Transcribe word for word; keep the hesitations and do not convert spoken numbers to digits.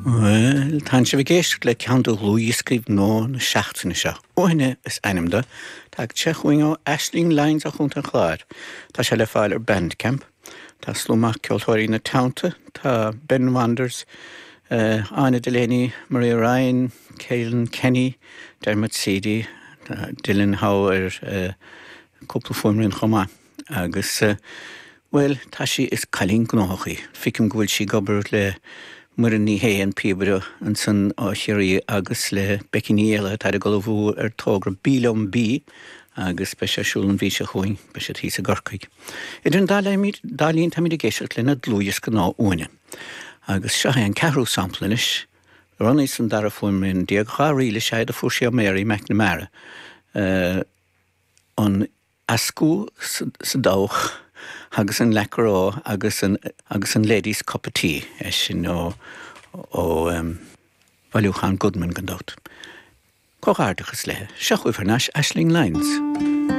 Well, tá sibh ag éisteacht le ceann de dhlúthdhioscaí nua na seachtaine seo. Uaithne is ainm dó, Tá sé chugainn ó Aisling Lyons ó Chontae an Chláir. Tá sé le fáil ar Bandcamp. Tá slua maith ceoltóirí ina teannta, tá Ben Wanders, uh, Áine Delaney, Maria Ryan, Keelan Kenny, Dermot Seedy, uh, Dylan Howe ar uh, cúpla fuaimrian chomh maith. Agus uh, well, tá sí is cailín gnóthach í. Feicim go bhfuil sí ag obair le Muireann Ní Shé an píobaire ansan ó Chiarraí agus le Becky Ní Éile tá ag ullmhú ar togra Bí Liom Bí agus beidh sé ar siúl an mhí seo chugainn beidh sé thíos i gCorcaigh. Idir an dá linn táimid ag éisteacht lena dlúthdhiosca nua Uaithne. Agus seo é an ceathrú sampla anois, roghnaithe san dara fuaimrian déag dhá ríl is ea a fuair sí ó Mary McNamara. Uh, an Ascú sa dabhach agus an lecará agus an, agus an Ladies Cup of Tea é sin ó ó um, bhailiúchán Goodman gan dabht. Comhghairdeachas léi, seo chugaibh anois Aisling Lyons.